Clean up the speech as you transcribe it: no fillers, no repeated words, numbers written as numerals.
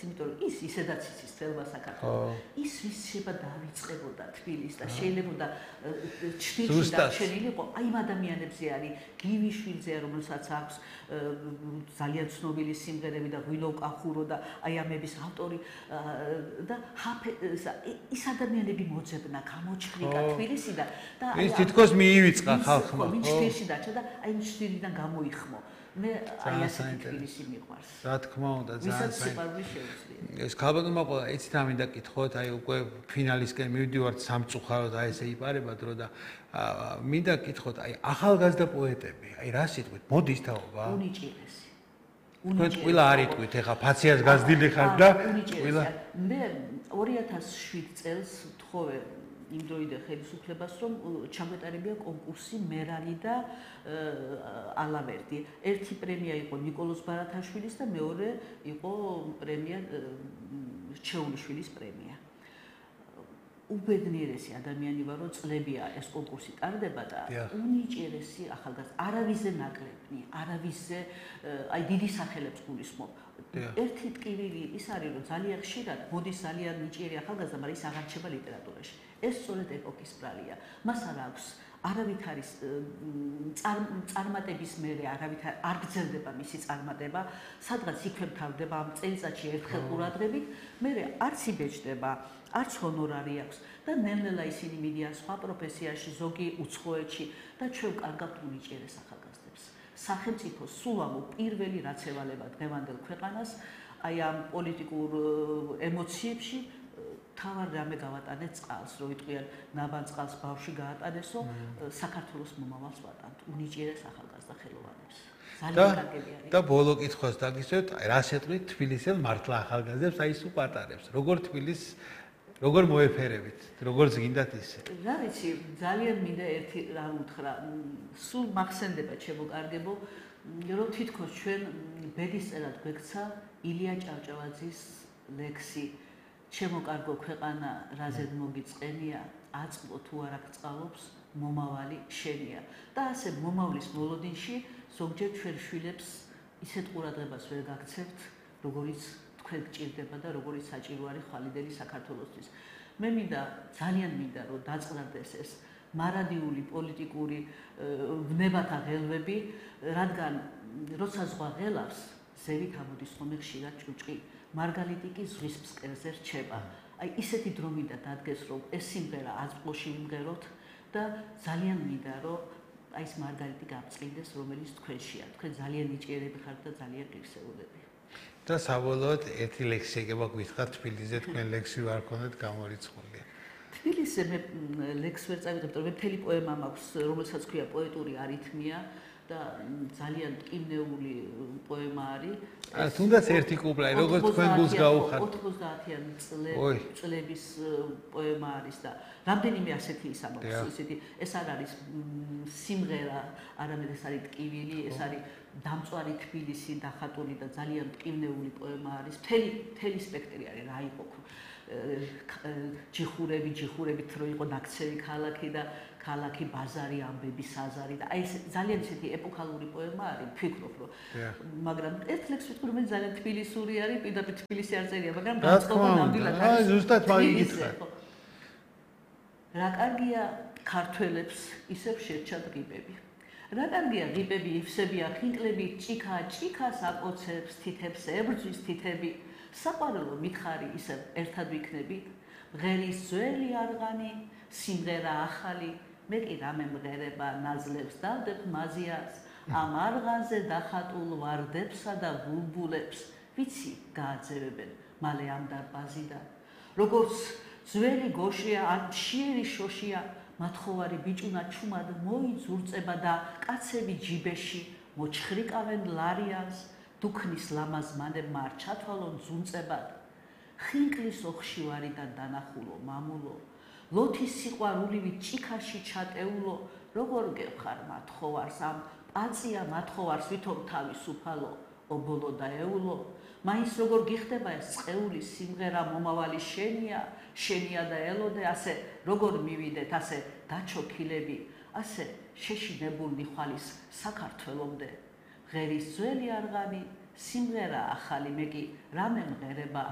იმიტომ რომ ის ისედაც იცის თელმა საქართველოს. ის ვის შეიძლება დავიწყებოდა თბილისს და შეიძლება ჩრდილში დარჩენილიყო აი იმ ადამიანებზე არის გივიშვილზე რომელსაც აქვს ძალიან ცნობილი სიმღერები და ღვინო კახურო და აი ამების ავტორი და ის ადამიანები მოძებნა გამოჩხრიკა თბილისიდან და ის თითქოს მიივიწყა ხალხმა ხო ჩრდილში დარჩა და აი ჩრდილიდან გამოიხმო მე აი ასეთი თბილისი მიყვარს რა თქმა უნდა ძალიან სიყვარული შეუძლია ეს ქალბატონმა ყოლა ეცით ამინდა კითხოთ აი უკვე ფინალისკენ მივდივართ სამწუხაროდ აი ესე იპარება დრო და მინდა კითხოთ აი ახალგაზრდა პოეტები აი რა სიტყვით მოდის თაობა უნიჭიერესი თქვენ ყველა არ იტყვით ეხა ფაციას გაზრდილი ხართ და ყველა მე 2007 წელს თხოვე იმ დროიდან ხელისუფლებას რომ ჩაგვეტარებია კონკურსი მერალი და ალავერდი. ერთი პრემია იყო ნიკოლოზ ბარათაშვილის და მეორე იყო პრემია ჩეულიშვილის პრემია. უბედნიერესი ადამიანი ვარ, რომ წლებია ეს კონკურსი ტარდება და უნიჭიერესი ახალგაზრდა, არავისზე ნაკლებნი, არავისზე აი დიდი სახელებს გულისხმობ. ერთი ტკივილი ის არის, რომ ძალიან ხშირად მოდის ძალიან ნიჭიერი ახალგაზრდა, მაგრამ ის აღარ რჩება ლიტერატურაში. ეს სწორედ ეპოქის ბრალია. მას არ აქვს არავით არის წარმატების მერე არავით არ გრძელდება მისი წარმატება, სადღაც იქვე მთავრდება ამ წელიწადში ერთხელ ყურადღებით, მერე არც იბეჭდება, არც ჰონორარი აქვს და ნელ-ნელა ისინი მიდიან სხვა პროფესიაში, ზოგი უცხოეთში და ჩვენ კარგავთ უნიჭიერეს ახალგაზრდებს. სახელმწიფო სულ ამო პირველი რაც ევალება დღევანდელ ქვეყანას, აი ამ პოლიტიკურ ემოციებში თავარ რამე გავატანეთ წყალს, რო იტყვიან ნაბან წყალს ბავშვი გაატანესო, საქართველოს მომავალს ვატანთ, უნიჭიერეს ახალგაზრდა ხელოვანებს. ძალიან კარგები არის. და ბოლო კითხვას დაგისვევთ, რა შეტყვით თბილისელ მართლა ახალგაზრდებს, აი სულ პატარებს. როგორ თბილისს როგორ მოეფერებით, როგორც გინდათ ისე. რა ვიცი, ძალიან მინდა ერთი რა უთხრა, სულ მახსენდება ჩემო კარგებო, რომ თითქოს ჩვენ ბედისწერად გვექცა ილია ჭავჭავაძის ლექსი ჩემო კარგო ქვეყანა რაზე მოგიწყენია აწყო თუ არ აღწყალობს მომავალი შენია და ასე მომავლის მოლოდინში ზოგჯერ ჩვენ შვილებს ისეთ ყურადღებას ვერ გაქცევთ როგორიც თქვენ გჭირდება და როგორიც საჭირო არის ხვალიდელი საქართველოსთვის მე მინდა ძალიან მინდა რომ დაწყნარდეს ეს მარადიული პოლიტიკური ვნებათა ღელვები რადგან როცა ზღვა ღელავს ზევით ამოდის ხოლმე ხშირად ჭუჭყი მარგალიტი კი ზღვის ფსკერზე რჩება. აი ისეთი დრო მინდა დადგეს რომ ეს სიმღერა აზყოში ვიმღეროთ და ძალიან მინდა რომ აი ეს მარგალიტი გავწყინდეს რომელიც თქვენშია. თქვენ ძალიან ნიჭიერები ხართ და ძალიან ღირსეულები. და საბოლოოდ ერთი ლექსი ეგება გვითხრათ თბილისზე თქვენ ლექსი ვარ ქონდეთ გამორიცხული. თბილისზე მე ლექს ვერ წავიღებ, იმიტომ რომ მე მთელი პოემა მაქვს, რომელსაც ქვია პოეტური არითმია. და ძალიან ტკივნეული პოემა არის. თუნდაც ერთი კუპლა, როგორც თქვენ გულს გაუხართ. 90-იანი წლების პოემა არის და რამდენიმე ასეთი ის ამბობს, ისეთი ეს არ არის სიმღერა, არამედ ეს არის ტკივილი, ეს არის დამწვარი თბილისი დახატული და ძალიან ტკივნეული პოემა არის. მთელი სპექტრი არის, რა იყო ჯიხურებით რო იყო ნაქცევი ქალაქი და ქალაქი ბაზარი ამბები საზარი და აი ეს ძალიან ისეთი ეპოქალური პოემა არის ვფიქრობ რომ მაგრამ ერთ ლექსს ვიტყვი რომ ძალიან თბილისური არის პირდაპირ თბილისი არ წერია მაგრამ განწყობა ნამდვილად არის აი ზუსტად მაგითხრა რა კარგია ქართველებს ისევ შეჭად ღიბები რა კარგია ღიბები იფსებია ხინკლები ჭიქას აკოცებს თითებს ებრძვის თითები საყვარელო მითხარი ისევ ერთად ვიქნებით მღერის ძველი არღანი სიმღერა ახალი მე კი რამე მღერება ნაზლებს დავდებ მაზიას ამ არღანზე დახატულ ვარდებსა და ბულბულებს ვიცი გააძევებენ მალე ამ დარბაზიდან როგორც ძველი გოშია ან მშიერი შოშია მათხოვარი ბიჭუნა ჩუმად მოიძურწება და კაცები ჯიბეში მოჩხრიკავენ ლარიანს დუქნის ლამაზ მანებმა არ ჩათვალონ ძუნწებად ხინკლის ოხშივარიდან დანახულო მამულო ლოთის სიყვარულივით ჭიქაში ჩატეულო როგორ გევხარ მათხოვარს ამ პაწია მათხოვარს ვითომ თავისუფალო ობოლო და ეულო მაინც როგორ გიხდება ეს წეული სიმღერა მომავალი შენია და ელოდე ასე როგორ მივიდეთ ასე დაჩოქილები ასე შეშინებულნი ხვალის საქართველომდე ღერის ძველი არღანი სიმღერა ახალი მე კი რამე მღერება